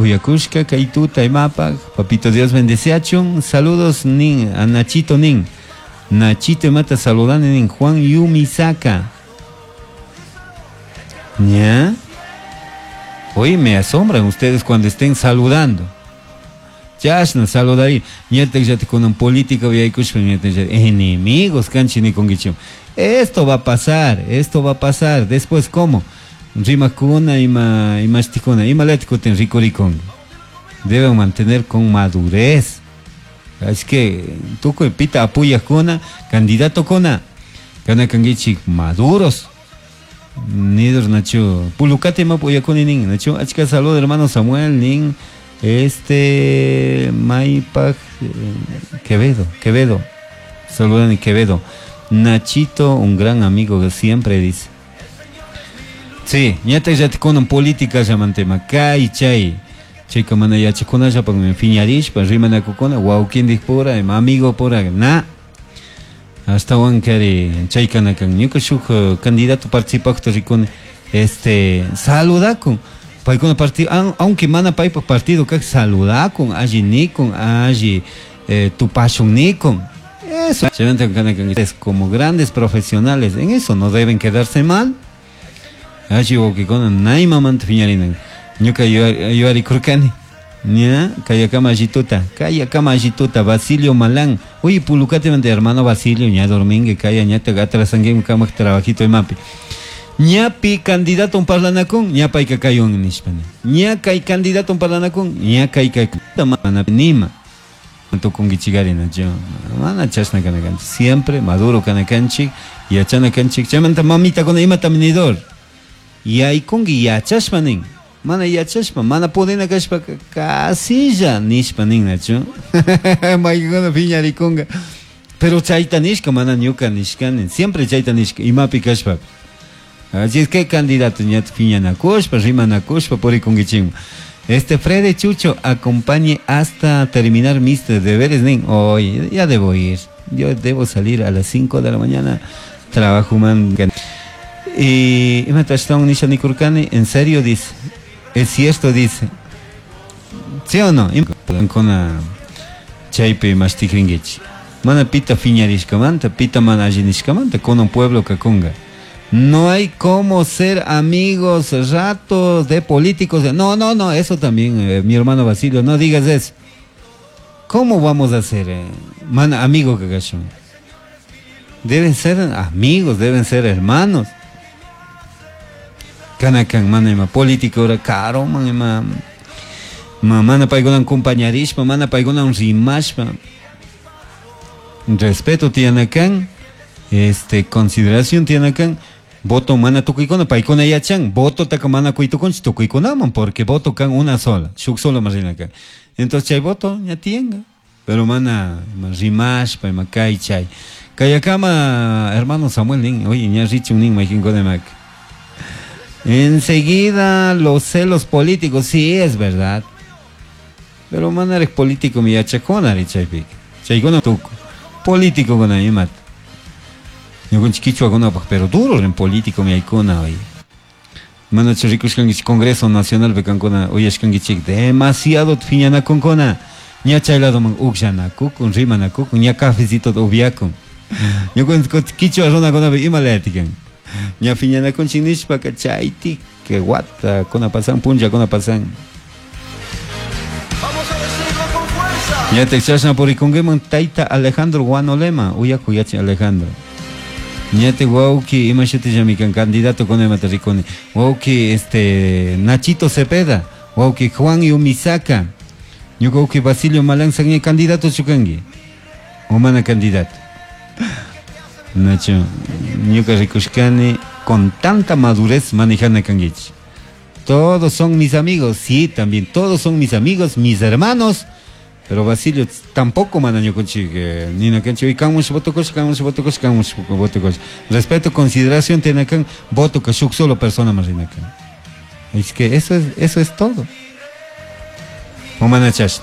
Uyakushka kay tuta imapaj. Papito Dios bendeciachun. Saludos nin a Nachito nin. Nachito imata saludani nin Juan Yumisaka. ¿Ya? Hoy me asombran ustedes cuando estén saludando. Chashna saludari. Ñatak llati kunan política uyaykushpa ñatak llati enemigos kanchik nikunkichik. Esto va a pasar, esto va a pasar. Después, ¿cómo? Rimakuna ima imashtikuna ima lati kutin rikurikun. Deben mantener con madurez. Así que tukuy pita apoyakuna, candidato kuna, kana kankichik maduros. Nidor Nacho, Pulucate ima apoyakuni nin, Nacho, achka salud hermano Samuel nin, este Maipaj Quevedo, Quevedo, saludan Quevedo. Nachito, un gran amigo que siempre dice. Sí, ñata llatikuna política llaman tema, kay chay. Chayka mana yachakunallapaq piñarishpa rimanakukuna wawkindik pura ima amigo pura na. Ashtawan kari chaykana kan ñuka shuk candidato participaqta rikuni este saludakun paykuna partido aunque mana paypak partido kak saludakun alli nikun alli tupashun nikun. Eso es como grandes profesionales, en eso no deben quedarse mal. Alli wawkikuna naymamanta piñarinan. Ñuka yuyarikurkani. Ña, kayakama allituta, kayakama allituta, Basilio Malán. Uy, pulucate mante hermano Basilio, ña dormingue, kaya ñata atrasangue kamak trabajito imapi. Ñapi candidato un parlanakun, ña payka kayun nishpani. Ña kay candidato un parlanakun, ña kay kay mana nima. Tukunkichikari nacho. Mana chashna kanakanchik. Siempre maduro kanakanchik, yachana kanchik. Chaymanta mamitakuna imata nidor. Yaykunki yachashpa nin. Mana yachashpa, mana pudina kashpa casilla nishpa nin nacho. Maykuna piñarikunga. Pero chayta nishka, mana ñuka nishkani. Siempre chayta nishka, imapi kashpa. Así es que candidato ñat piñanakushpa, rimanakushpa purikunkichikman. Este Freddy Chucho, acompañe hasta terminar mis deberes, nin. Hoy ya debo ir. Yo debo salir a las 5 de la mañana. Trabajo man. Y imata ashtawan nisha nikurkani, en serio dice. Es cierto dice. ¿Sí o no? Kuna chaypi mashtikrinkichik. Mana pita piñarishkamanta, pita mana alli nishkamanta, con un pueblo kakunga. No hay cómo ser amigos ratos de políticos. No, no, no, eso también, mi hermano Basilio, no digas eso. ¿Cómo vamos a ser, mana, amigo kakashun? Deben ser amigos, deben ser hermanos. Kanakan mana ima político ora caro man ima mana paykunan compañarishpa, mana paykunan rimashpa. Respeto tiyanakan, consideración tiyanakan. Voto mana tukuykuna, paykuna yachan, voto taka mana kuytukunchik tukuykunaman, porque voto kan una sola, shuk solo más rinaka. Entonces chay voto ña tiyenga, pero mana ima rimashpa, ima kay chay. Kayakama hermano Samuel nin, oye ña richun nin maykinkuna mak. Enseguida los celos políticos, sí es verdad. Pero mana eres político mi yachakuna ri chaypik. Chaykuna tuku. Político kuna imat. Ñukanchik kichwakunapaq, pero duro en político mi aykuna oye. Mana rikushkankichik Congreso Nacional pekankuna uyashkankichik demasiado phiñanakunkuna. Ña chay ladoman uqllanakukun, rimanakukun, ña cafecito upiakun. Ñukanchik kichwa runakunapi ima layatikan. Ña phiñanakunchik nishpaka chaytik que wata kuna pasan, punlla kuna pasan. Vamos a decirlo con fuerza. Ña te chashna purikunkiman tayta Alejandro Guanolema, uyaku yachi Alejandro. Ñate wauki ima shutillami kan candidato con imata rikuni. Wauki Nachito Cepeda, wauki Juan Yumisaka. Ñuka wauki Basilio Malán ña candidato chukanki. O mana candidato. Nacho, ñuka rikushkani con tanta madurez manejana kankichik. Todos son mis amigos, sí, también todos son mis amigos, mis hermanos. Pero Basilio tampoco mana ñukanchik, nina kanchik, oye, kanmush voto kosh, kanmush voto kosh, kanmush voto kosh. Respeto, consideración tiene acá, voto que shuk solo persona más rina kan. Es que eso es todo. O mana chash.